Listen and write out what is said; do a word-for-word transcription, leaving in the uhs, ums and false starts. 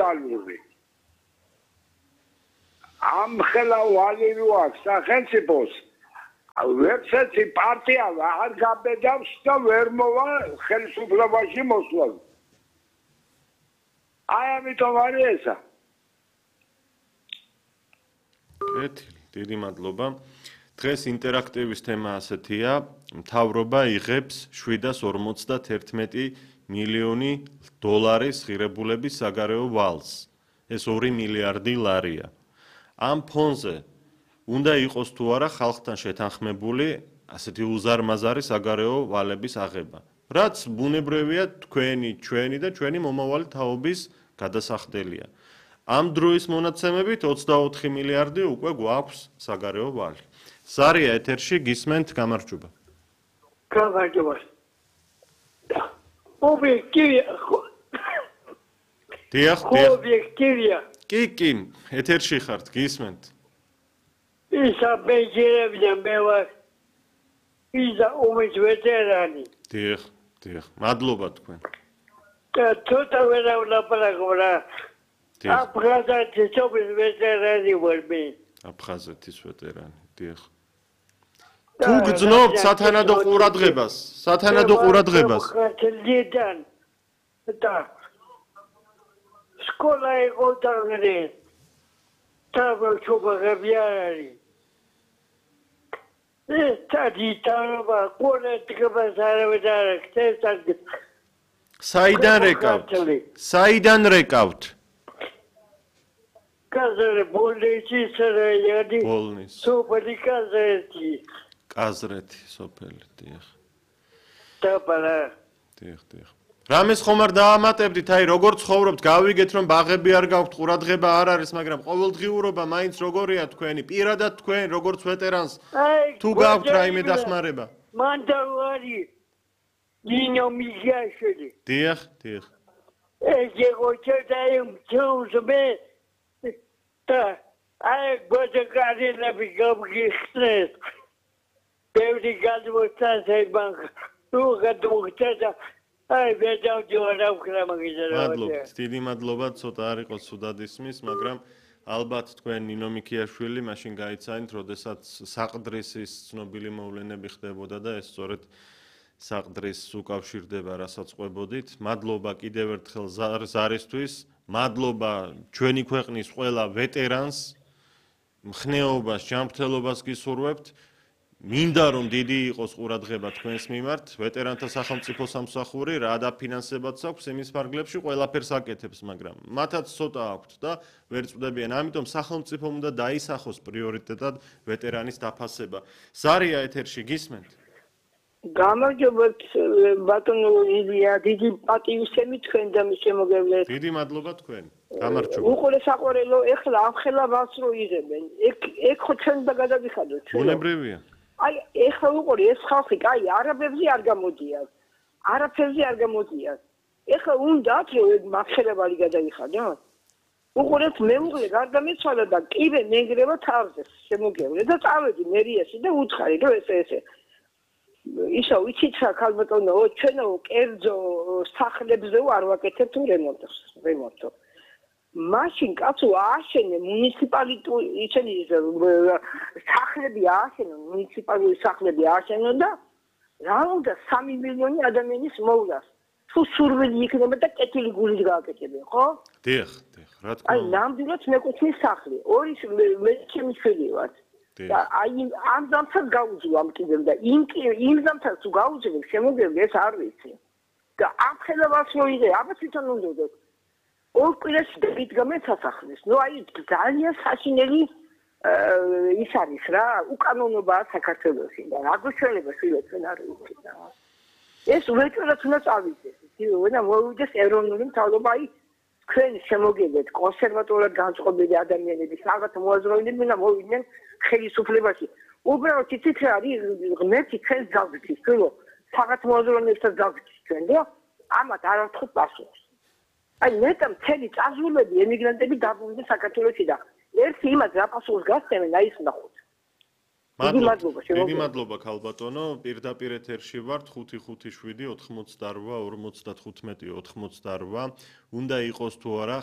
ფეოდალური. ამ ხელა ვალივი აქვს სახელმწიფოს. ვერცერთი პარტია არ გაბედავს და ვერ მოვა ხელისუფლებაში მოსვლა. აი ამიტომ არის ესა. კეთილი, დიდი მადლობა. დღეს ინტერაქტივის თემა ასეთია, მთავრობა იღებს შვიდას ორმოცდაათერთმეტი მილიონი დოლარის ღირებულების საგარეო ვალს. ეს ორი მილიარდი ლარია. ამ ფონზე უნდა იყოს თუ არა ხალხთან შეთანხმებული ასეთი უზარმაზარი საგარეო ვალების აღება. რაც ბუნებრივია თქვენი, ჩვენი და ჩვენი მომავალი თაობის გადასახდელია. ამ დროის მონაცემებით ოცდაოთხი მილიარდი უკვე გვაქვს საგარეო ვალი. ზარია ეთერში გისმენთ გამარჯობა. გამარჯობა. ობიექტივია. დიახ, დიახ. ობიექტივია. კი, კი, ეთერში ხართ, გისმენთ. ისა ბეჯერებია მე ვარ. ისა ომის ვეტერანი. დიახ, დიახ. მადლობა თქვენ. და თოთა ვერა ვლაპარაკობ რა. აფხაზეთის ომის ვეტერანი ვარ მე. აფხაზეთის ვეტერანი, დიახ. თუ გძნობთ სათანადო ყურადღებას, სათანადო ყურადღებას. ხალხიდან და სკოლა იყო დაგრე. თავშობები არის. ეს თადიტაობა ყურადღებას არ ვეძახეთ. საიდან რეკავთ? საიდან რეკავთ? კაზრე ბოლნისის რაიონი. ბოლნის. სოფელი კაზრეთი. კაზრეთი სოფელი, დიახ. დაბალა. დიახ, დიახ. რამეს ხომ არ დაამატებდით, აი როგორ ცხოვრობთ, გავიგეთ რომ ბაღები არ გაქვთ, ყურადღება არ არის, მაგრამ ყოველდღიურობა მაინც როგორია თქვენი, პირადად თქვენ როგორც ვეტერანს თუ გაქვთ რაიმე დახმარება? მან დავარი ნინო მიგიაშვილი. დიახ, დიახ. ეს იყო ჩადაიმ ჩუზმე და აი გოჯგარინები გამგიხსნეს. ბევრი გადმოსცემ თუ გადმოგწედა აი ვეძავდიო რა მაგიზარა. მადლობა, დიდი მადლობა, ცოტა არ იყო ცუდად ისმის, მაგრამ ალბათ თქვენ ნინო მიქიაშვილი მაშინ გაიცანით, როდესაც საყდრისის ცნობილი მოვლენები ხდებოდა და ეს სწორედ საყდრისს უკავშირდება, რასაც ყვებოდით. მადლობა კიდევ ერთხელ ზარისთვის, მადლობა ჩვენი ქვეყნის ყველა ვეტერანს, მხნეობას, ჯანმრთელობას გისურვებთ. მინდა რომ დიდი იყოს ყურადღება თქვენს მიმართ, ვეტერანთა სახელმწიფო სამსახური რა დაფინანსებაც აქვს იმის ფარგლებში ყველაფერს აკეთებს, მაგრამ მათაც ცოტა აქვთ და ვერ წვდებიან. ამიტომ სახელმწიფომ უნდა დაისახოს პრიორიტეტად ვეტერანის დაფასება. ზარია ეთერში გისმენთ? გამარჯობა ბატონო ილია, დიდი პატივისცემი თქვენ და მის შემოგევლეთ. დიდი მადლობა თქვენ. გამარჯობა. უყურე საყვარელო, ეხლა ამ ხელა ვას რო იღებენ. ეგ ეგ ხო ჩვენ და გადაგიხადოთ. ბუნებრივია. აი ეხლა უყურე ეს ხალხი, აი არაბებზე არ გამოდიან. არაფერზე არ გამოდიან. ეხლა უნდათ რომ ეგ მახელებალი გადაიხადოთ. უყურეთ მეუღლე გარდამეცვალა და კიბე მენგრევა თავზე შემოგევლე და წავედი მერიაში და უთხარი რომ ესე ესე ისა ვიცით რა ქალბატონო ჩვენო კერძო სახლებზე არ ვაკეთებთ რემონტს რემონტო მაშინ კაცო ააშენე მუნიციპალიტეტი ისინი სახლები ააშენო მუნიციპალური სახლები ააშენო და რა უნდა სამი მილიონი ადამიანის მოვლას თუ სურვილი იქნება და კეთილი გულით გააკეთებენ ხო? დიახ, დიახ, რა თქმა აი უნდა. ნამდვილად მეკუთვნის სახლი ორი მე ჩემი შვილი ვარ და აი ამ ზამთარს გაუძლო ამ კიდევ და იმ იმ ზამთარს თუ გაუძლებ შემოგევლე ეს არ ვიცი და ამ ხელებას მოიღე აბა თვითონ უნდა ორ კვირაში დაგიდგამენ სასახლეს ნუ აი ძალიან საშინელი ის არის რა უკანონობაა საქართველოში და რა გვეშველება შვილებთან არ ვიცი და ეს უეჭვად უნდა წავიდეს ვენა მოვიდეს ეროვნული მთავრობა აი თქვენ შემოგევლეთ კონსერვატორად განწყობილი ადამიანები რაღაც მოაზროვნეები და მოვიდნენ ხელისუფლებაში უბრალოდ იცით რა არის ღმერთი ჩვენს გავგზის თქო რაღაც მოაზროვნეებსაც გავგზის ჩვენ და ამათ არ ვთხოვთ პასუხს აი მეტა მთელი წაზულები ემიგრანტები დაბრუნდნენ საქართველოში და ერთი იმას რა პასუხს გასცემენ აი ის ნახოთ მადლობა დიდი მადლობა ქალბატონო პირდაპირ ეთერში ვართ ხუთი ხუთი შვიდი ოთხმოცდარვა ორმოცდათხუთმეტი ოთხმოცდარვა უნდა იყოს თუ არა